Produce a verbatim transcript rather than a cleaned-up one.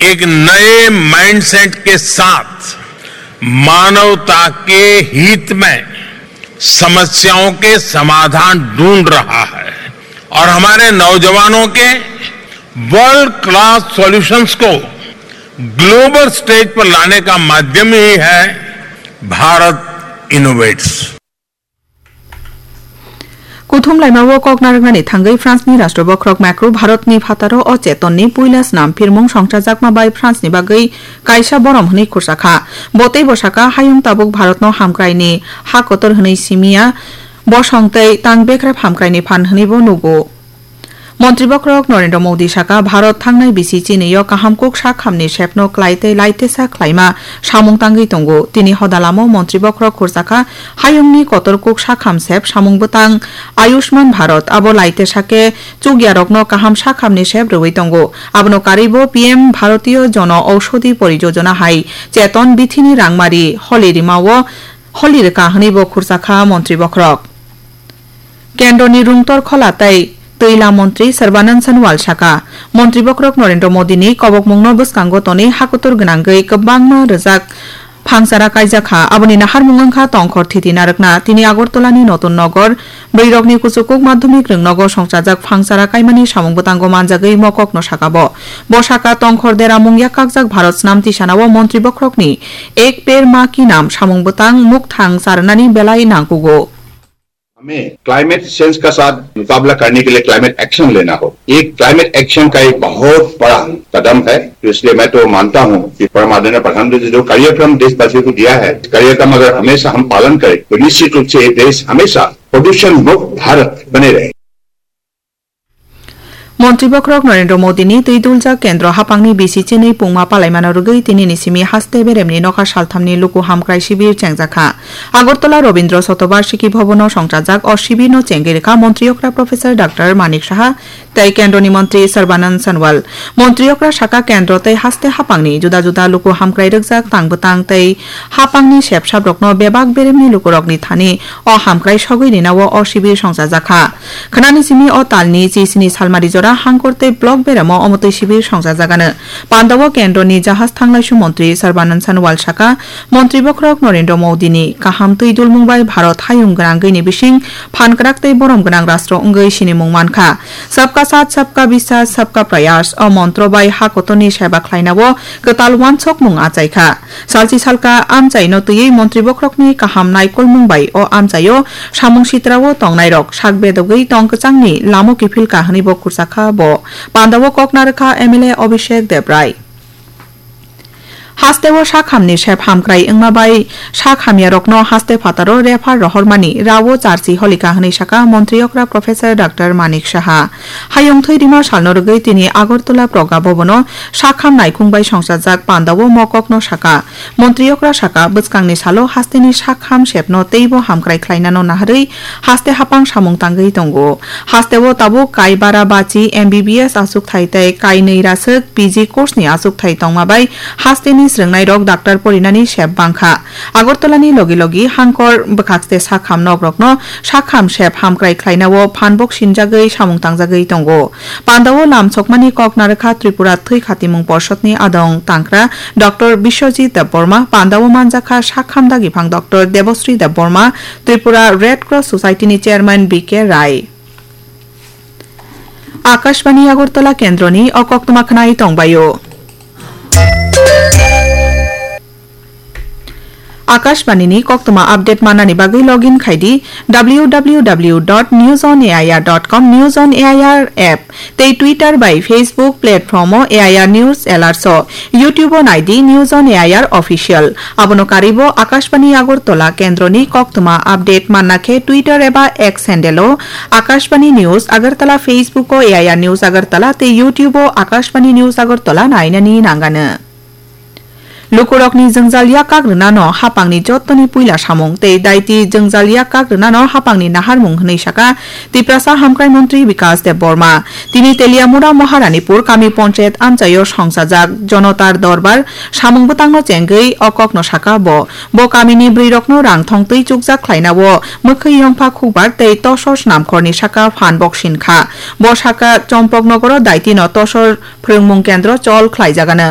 एक नए माइंडसेट के साथ मानवता के हित में समस्याओं के समाधान ढूंढ रहा है और हमारे नौजवानों के वर्ल्ड क्लास सॉल्यूशंस को ग्लोबल स्टेज पर लाने का माध्यम ही है Bharat innovates. Kuthum laimao kok narwknani thangwi France ni Rashtra Bokhorok Macron Bharat ni phataro o Cheton ni puila snam phirmung songchajakma bai France ni bagwi kaisa borom hwnwi khursa kha. Bo teibo saka, hayung tabuk Bharat no hamkrai ni ha kotor hwnwi simiya, bosong tei tang bekrep hamkrai ni phan hwnwi bo nugo. Montri Bokhorok Narendra Modi saka, Bharat thangnai bisi chini o kaham kuk sak hamni sepno klai tei laitesa khlaima samung tangwi tongo. Tini hodalamo Montri Bokhorok khursa kha, hayungni kotor kuk sak ham sep samung bwtang Ayushman Bharat, abo laitesa khe chukyarokno kaham sak hamni sep rwui tongo. Abono karwibo P M Bharatiya Jana Aushadhi Parijojona hai Cheton bithini rangmari holi rimao holi rwkha hwnwi bo khursa kha Montri Bokhorok. Kendroni rungtor khola tei twila montri Sarbanand Sonowal saka, Montri Bokhorok Narendra Modini kobokmungno bwskango tonwi hakutur gwnangwi kwbangma rwjak phangsara kaijak kha. Aboni naharmung wngkha tongkhor thiti narwkna. Tini Agartala ni Notun Nogor bwrwirokni kuchukuk madhyamik rwngnogo songchajak phangsara kaimani samung bwtango manjagwi mokokno saka bo. Bo saka tongkhor deramung yakkakjak Bharat snam tisanao Montri Bokhorokni Ek Ped Maa Ki Naam samung bwtang mukthang charwnani belai nangkugo. हमें climate change का साथ मुकाबला करने के लिए climate action लेना हो। ये क्लाइमेट एक्शन का एक बहुत बड़ा कदम है। तो इसलिए मैं तो मानता हूँ कि परम आदरणीय प्रधानमंत्री जी जो कार्यक्रम देशवासियों को दिया है, कार्यक्रम अगर हमेशा हम पालन करें तो निश्चित रूप से ये देश हमेशा प्रदूषण मुक्त भारत बने रहे। Montri Bokhorok Narendra Modini twi duljak kendro hapangni bisi chinwi pungma palaimano rwgwi tinini simi haste beremni nokha salthamni luku hamkrai sibir chengjakha. Agartala Rabindra Shatobarshiki Bhavan-o songchajak o sibirno chengwi rwkha Montri okra Professor Doctor Manik Saha tei Kendroni Montri Sarbanand Sonowal. Montri okra saka kendro tei haste hapangni juda juda luku hamkrai rwkjak tang bwtang tei hapangni sepsabrokno bebak beremni lukurokni thani o hamkrai sogwi rinao o sibir songchajakha. Khwnani simi o talni chisni salmari jora Hangkor tei Block beremo omo twi sibir songchajagano. Pandao kendroni jahaj thanglaisu montri Sarbanand Sonowal saka, Montri bokhorok Narendra Modini kaham twi dulmung bai Bharat hayung gwnangwini bising phan kwrak tei borom gwnang rastro wngwi sinimung mankha. Sabka Saath, Sabka Vishwas, Sabka Prayas o montro bai ha kotorni seba khlainao kwtal uansukmung achaikha. Salchi salka amchaino twiwi montri bokhorokni kaham naikolmung bai o amchaio samung sitrao tongnairok sak bedogwi tong kwchangni lamo kiphilka hwnwibo khurchakha bo. Pandao kok narwkha M L A Abhishek Debrai. Hasteo sak hamni sep hamkrai wngma bai sak hamyarokno haste phataro refer rohormani rao charchi holika hwnwi saka montri okra Professor Doctor Manik Saha. Hayung thwi rima salno rwgwi tini Agartala Progya Bhavan-o sakham naikhung bai songchajak pandao mokokno saka. Montri okra saka, bwskangni salo hasteni sakham sepno teibo hamkrai khlainano naharwi haste hapang samung tangwi tongo. Hasteo tabuk kai bara bachi M B B S achukthai tei kai nwi raswk P G course ni achukthai tongma bai hasteni srwngnairok doctor porinani sep bangkha. Agartalani logi logi Hangkor bwkhakste sakham nokrokno sakham sep hamkrai khlainao phanbok sinjagwi samung tangjagwi tongo. Pandao lamsokmani kok narwkha Tripura Thwi Khatimung Porshod ni adong tangkra Doctor Biswajit Debbarma, pandao manjakha sakham dagiphang Doctor Debasri Debbarma, Tripura Red Cross Society ni Chairman B K Rai. Akashbani Agartala kendroni o koktwma khwnai tongbaio. Akashbani ni koktwma update mannani bagwi login khai di W W W dot news on A I R dot com, News on A I R app tei Twitter bai Facebook platform o A I R News Alerts o, YouTube o nai di News on A I R Official. Abono karwi bo Akashbani Agartala kendroni koktwma update manna khe Twitter eba X handle o Akashbani News Agartala, Facebook o A I R News Agartala tei YouTube o Akashbani News Agartala nainani nangano. Lukurokni jwngjal yak kak rwnano hapangni jottoni puila samung tei daiti jwngjal yak kak rwnano hapangni naharmung hwnwi saka Tiprasa Hamkrai Montri Bikas Debbarma. Tini Teliamura Maharanipur kami ponchayat amchaio songchajak Jonotar Dorbar samung bwtangno chengwi o kokno saka bo. Bo kamini bwrwirokno rang thong twi chukjak khlainao mwkhwi yongpha khukbar tei tosor snamkhorni saka phan bok sinkha. Bo saka Chompoknogoro daitino tosor phwrwngmung kendro chol khlaijagano.